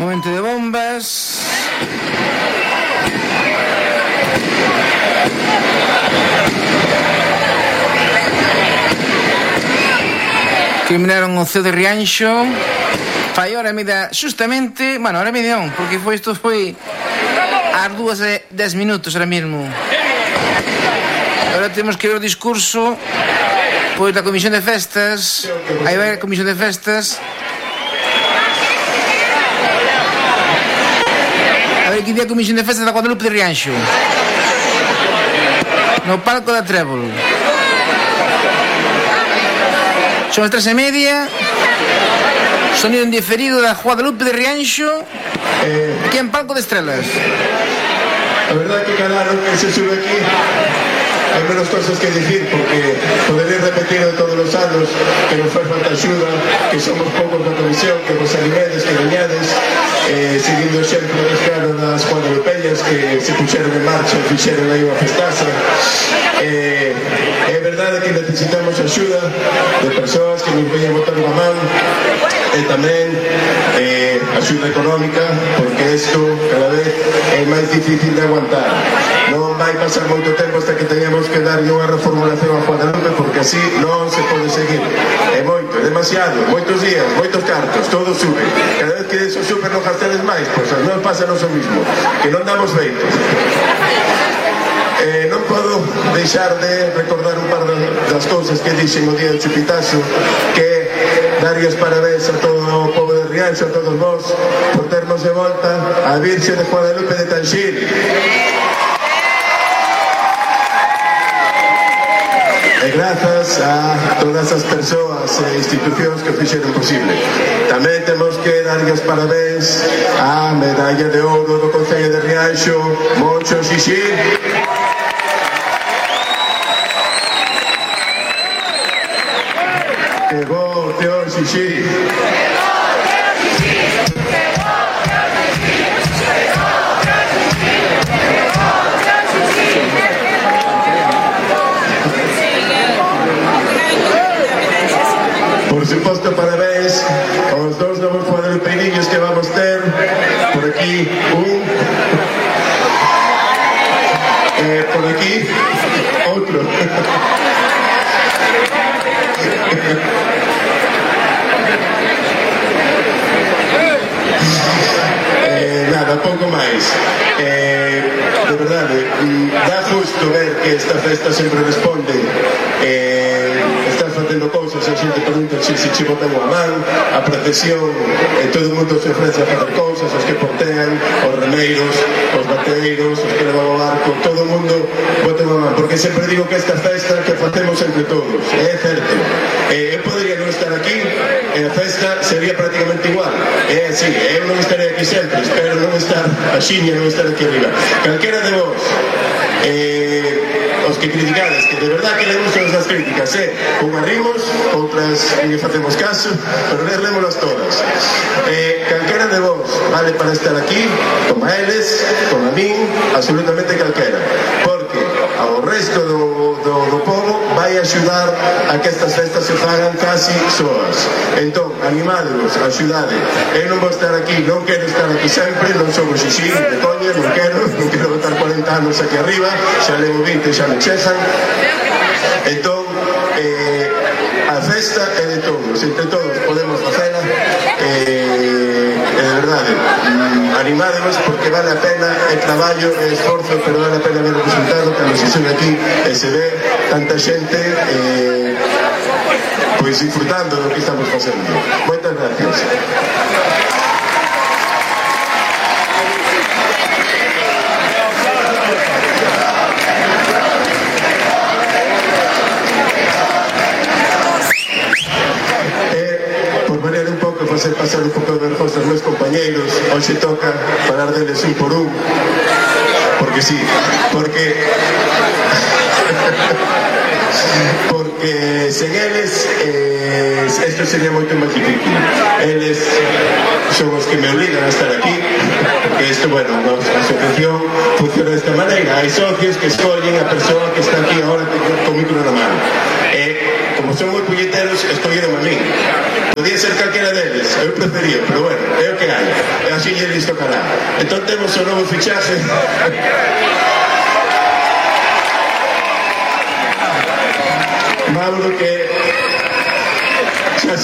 Momento de bombas. Que eliminaron o CEO de Rianxo. Fai hora e media, justamente. Bueno, hora e media non, porque isto foi ás 2:10 ahora mesmo. Agora temos que ver o discurso pois da Comisión de Festas. Aí vai a Comisión de Festas. A ver que día a Comisión de Festas da Guadalupe de Rianxo. No palco da Trébol. Son as 3:30. Sonido en diferido da Guadalupe de Rianxo. Aquí en Palco de Estrelas. La verdad que claro que se sube aquí hay menos cosas que decir, porque poderéis repetir de todos los años que nos faz falta axuda, que somos poucos na comisión, que vos animedes, que gañades, seguindo sempre o claro das guadalupeñas que se puxeron en marcha e fixeron aí unha festaza. É verdade que necesitamos axuda de persoas que nos veñan botar unha man, e tamén axuda económica, porque isto cada vez é máis difícil de aguantar. Non vai pasar moito tempo hasta que teñamos que darlle unha reformulación a Guadalupe, porque así non se pode seguir. É moito, é demasiado, moitos días, moitos cartos, todo sube. Cada vez que eso sube non gastedes máis, pois non pasa o mismo, que non damos feito. Non podo deixar de recordar un par das cousas que dixen o día do chupitazo, que darlle os parabéns a todo o povo de Rianxo, a todos vos, por termos de volta a Virxe de Guadalupe de Tanxil. E grazas a todas as persoas e institucións que fixeron posible. Tamén temos que darlle os parabéns á medalla de ouro do Concello de Rianxo, Moncho Xixi. Que bo, Teo Xixi. Por suposto, parabéns aos dous novos guadalupeños que vamos ter. Por aquí por aquí outro. Nada, pouco máis. De verdade, dá justo ver que esta festa sempre responde. Estás facendo cousas, a xente pregunta se che botan a man, a procesión, todo o mundo se ofrece a facer cousas, os que portean, os remeiros, os bateeiros, os que levan o barco, todo o mundo botan a man, porque sempre digo que esta festa que facemos entre todos, é certo. Eu podría non estar aquí, e a festa sería prácticamente igual, é así, eu non estarei aquí sempre, espero non estar axiña, non estar aquí arriba. Calquera de vos, os que criticades, que de verdad que lemos todas as críticas, unhas rimos, outras non facemos caso, pero lémolas todas. Calquera de vos vale para estar aquí, como a eles, como a min, absolutamente calquera, porque ao resto do povo vai axudar a que estas festas se fagan casi soas. Entón, animadevos, axudade. Eu non vou estar aquí, non quero estar aquí sempre, non somos xixí, de coña, non quero botar 40 anos aquí arriba, xa levo 20, xa me chexan. Entón, a festa é de todos, entre todos podemos facela, de verdade, animádevos porque vale a pena, é traballo, é esforzo, pero vale a pena ver o resultado cando se sube aquí e se ve tanta xente pois disfrutando do que estamos facendo. Moitas gracias. Facer pasar un pouco de vergonza aos meus compañeiros, hoxe toca falar deles un por un, porque sí, porque sen eles isto sería moito máis difícil. Eles son os que me obligan a estar aquí, porque isto, bueno, a asociación funciona desta maneira, hai socios que escollen a persoa que está aquí agora con micro na mano. Como son moi puñeteros, escolleron a mí. Podía ser calquera deles, eu prefería, pero bueno, é o que hai. E así lle listo calá. Entón temos o novo fichaje. Mauro, que xa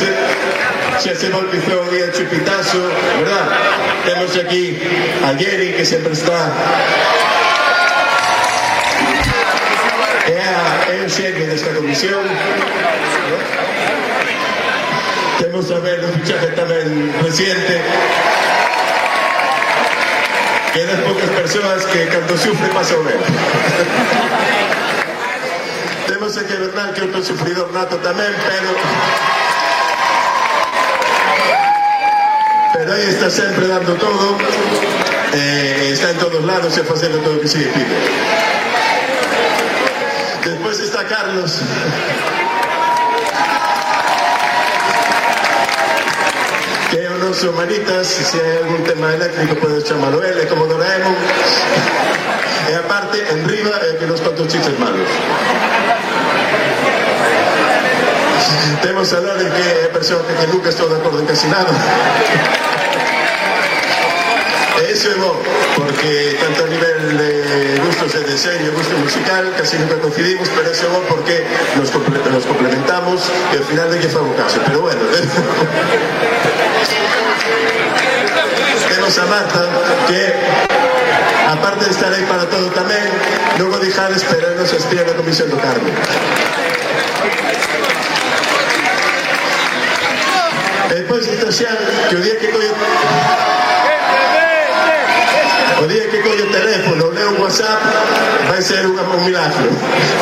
se bautizou o día de Chupitazo, verdad? Temos aquí a Yeri, que sempre está... É o xefe desta comisión. Temos a ver o fichaje tamén reciente, que é das poucas persoas que cando sufre pasa o ben. Temos aquí a Bernal, que é outro sufridor nato tamén, pero aí está sempre dando todo, está en todos lados e facendo todo o que se lle pide. Despois está Carlos, que é o noso Manitas. Se hai algún tema eléctrico podes chamalo ele, como Doraemon. E aparte, en riba, é que nos conta os chistes malos. Temos a Loren, que é a persoa que nunca estou de acordo en casi nada. E iso é bom, porque tanto a nivel de gustos de diseño, gusto musical, casi nunca coincidimos, pero iso é bom porque nos complementamos e ao final non lle fago caso, pero bueno. Temos a Marta, que aparte de estar aí para todo tamén, non o dixades, pero nos espía na Comisión do Carme. E depois está Xan, que o día que collo o teléfono, leo un WhatsApp, vai ser un milagro,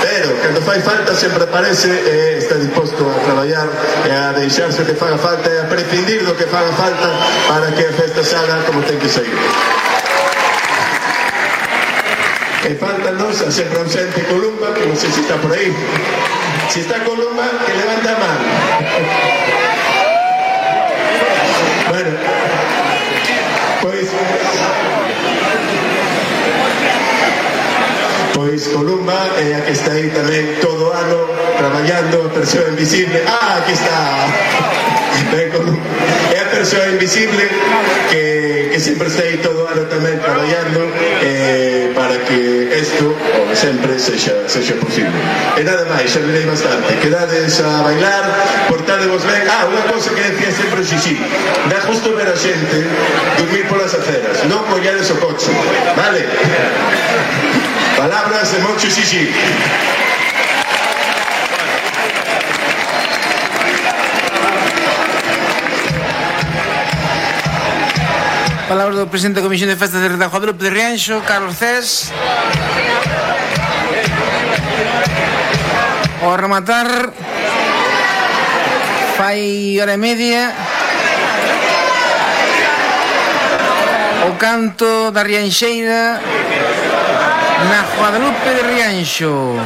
pero cando fai falta sempre aparece e está disposto a traballar e a deixarse o que faga falta e a prescindir do que faga falta para que a festa salga como ten que sair. E faltanos a sempre ausente Columba, que non sei se está por aí. Se está Columba, que levanta a man. Bueno, pois Columba é a que está aí tamén todo ano traballando, a persoa invisible. Aquí está. É a persoa invisible que sempre está aí todo ano tamén traballando para que isto sempre sexa posible. E nada máis, xa direi bastante. Quedades a bailar, portadevos ben. Unha cousa que decía sempre o Xixi: dá justo ver a xente dormir polas aceras, non collades o coche, vale? Palabras de Moncho Xixi. Palabras do presidente da Comisión de Festas de Guadalupe de Rianxo, Carlos Cés. Ao rematar, fai hora e media, o canto da Rianxeira na Guadalupe de Rianxo.